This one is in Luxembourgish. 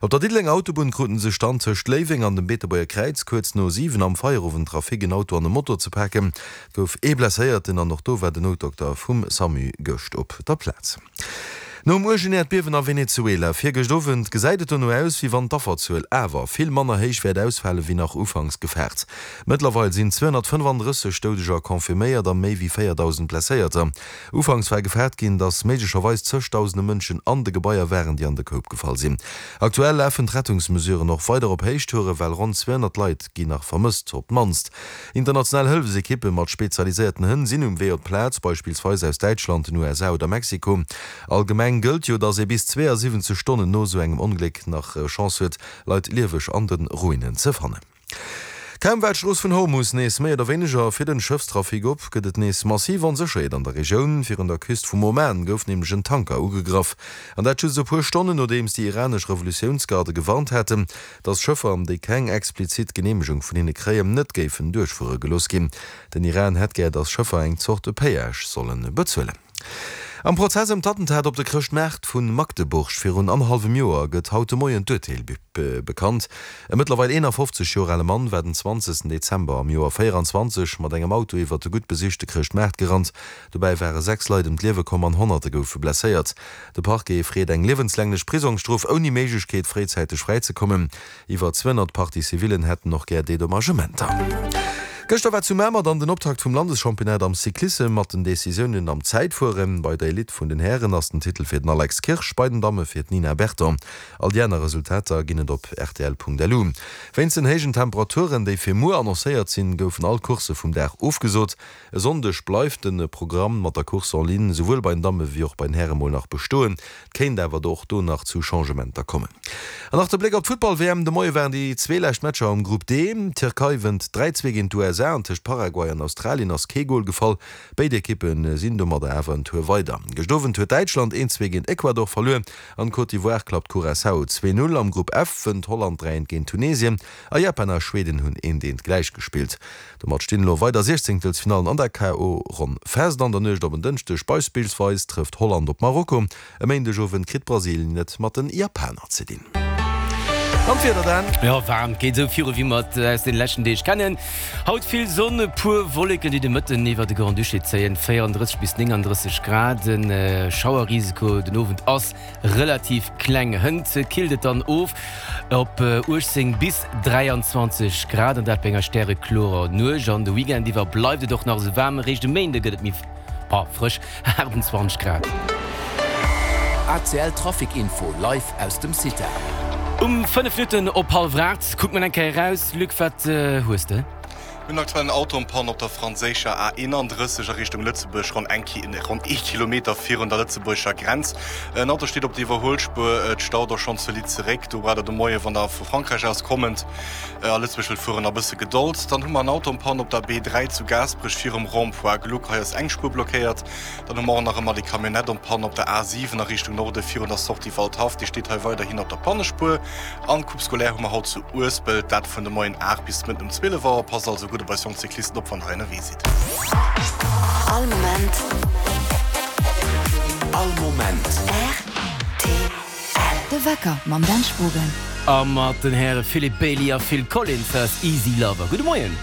Op der Diddelenger Autobunn kruten sech dann tëscht Léiweng an dem Beetebuerger Kräiz kuerz no 7 am Feierowendtrafic en Auto an e Moto ze paken. Et gouf ee Blesséierten an och do war den Noutdokter vum Samu gëscht op der Plaz. Nom uergen Äerdbiewen a Venezuela virgëscht Owend gesäit et dono aus, wéi wann d'Afferzuel awer vill manner héich wäert ausfale wéi nach ufanks gefaart. Mëttlerweil sinn 235 Doudeger confirméiert a méi wéi 4.000 Blesséierter. Ufanks war gefaart ginn, datt méiglecherweis zëgdausende Mënschen an de Gebaier waren, déi an de Koup gefall sinn. Aktuell lafen d'Rettungsmesuren och weider op Héichtoure well ronn 200 Leit ginn nach vermësst, op d'mannst. International Hëllefsekippe mat spezialiséierten Hënn sinn um Wee op d'Plaz, beispillsweis aus Däitschland, den USA oder Mexiko. Allgemeng gëllt jo, datt ee bis 72 Stonnen no esou engem Ongléck nach Chance huet, Leit lieweg an de Ruinen ze fannen. Kaum war d'Strooss vun Hormus nees méi oder wéineger fir den Schëffstrafic op, gëtt et nees massiv Onsécherheet an der Regioun. Virun der Küst vum Oman gouf nämlech en Tanker ugegraff, an dat just e puer Stonnen nodeems déi iranesch Revolutiounsgarde gewarnt haten, datt Schëffer, déi keng explizit Geneemegung vun hinne kréien, net géifen duerchfuere gelooss ginn. Den Iran hätt gär, datt Schëffer eng Zort Péage solle bezuelen. Am Prozess ëm d'Attentat op de Chrëschtmaart vu Magdeburg virun annerhallwem Joer gëtt haut de Moien d'Urteel bekannt. E mëttlerweil 51 Joer ale Mann war den 20 Dezember am Joer 24 mat engem Auto iwwert de gutt besichte Chrëschtmaart gerannt. Dobäi ware 6 Leit ëm d'Liewe komm an Honnerte goufe blesséiert. De Parquet freet eng liewenslänglech Prisongsstrof ouni Méiglechkeet fréizäiteg fräizekommen. Iwwer 200 Partie-civillen hätten och gär Dedommagementer. Gëschter war zu Mamer dann den Optakt vum Landeschampionnat am Cyclissem mat den Decisiounen am Zäitfueren. Bei der Elite vun den Hären ass den Titel fir den Alex Kirsch, bei den Damme fir d'Nina Berton. All déi aner Resultater ginn et op rtl.lu. Wéinst den héijen Temperaturen, déi fir muer annoncéiert sinn, goufen all Coursse vum Dag ofgesot. E Sonndeg bleift de Programm mat der Course en ligne souwuel bei den Damme wéi och bei den Häre mol nach bestoen. Et kéint awer do och do nach zu Changementer kommen. An nach de Bléck op d'Futtball-WM, De Moie waren déi zwee lescht Matcher am Grupp D. D'Tierkei wënnt 3, 2 géint d'USA an tëscht Paraguay an Australien ass kee Gol gefall. Béid Ekippe sinn domadder awer en Tour weider. Gëscht Owend huet Däitschland 1, 2 géint Ecuador verluer an d'Côte d'Ivoire klappt Curaçao 2, 0. Am Grupp F wënnt Holland 3, 1 géint Tunesien a Japan a Schweden hunn 1, 1 gläich gespillt. Domat stinn elo weider Siechzéngtelsfinallen an der KO-Ronn fest. An der Nuecht op en Dënschdeg beispillsweis trëfft Holland op Marokko. E Méindegowend kritt Brasilien et mat den Japaner ze dinn. An d'Wieder dann? Jo, waarm, geet esou viru wéi mer et aus den leschten Deeg kennen. Haut vill Sonn, e puer Wolleken déi de Mëtten iwwer de Grand-Duché zéien, 34 bis 39 Grad. De Schauerrisiko den Owend ass Relativ kleng. Hënt killt et dann of op 18 bis 23 Grad, an dat bei enger stäreklorer Nuecht. An de Weekend iwwer bleift et och nach esou waarm, eréischt e Méinde gëtt et méi frësch, 28 Grad. ACL Trafic Info live aus dem CITA. Um 5 Minutten op hallwer 8 kucke mer eng Kéier eraus. Luc, wat hues de? Mir hunn aktuell en Auto en panne op der franséischer A 31 a Richtung Lëtzebuerg, ronn eng ronn ee Kilometer virun der lëtzebuergescher Grenz. En Auto steet op der Iwwerhuelspuer, et staut och schonn zolidd zeréck. Do braucht der de Moie wann der vu Frankräich aus kommend a Lëtzebuerg wëllt fueren, a bësse Gedold. Dann hu mer en Auto en panne op der B3 zu Gaasperech virum Rond-point Gluck. Hei ass eng Spuer blockéiert. Dann hu mer och nach ëmmer déi Camionnette en panne op der A7 a Richtung Norde virun der Sortie Waldhaff. Déi steet hei weiderhin op der Pannespuer. An d'Coupe scolaire hu mer haut zu Uespelt, dat vun de Moien 8 bis de Mëtten um 12 Auer. Passt also gutt op eis jonk Cyclisten op, wann der hei ënnerwee sidd. All Moment. All Moment. Rtl. De Wecker mam Dan Spogen. A mat den Häre Philippe Bailey a Phil Collins, dat ass Easy Lover. Gudde Moien.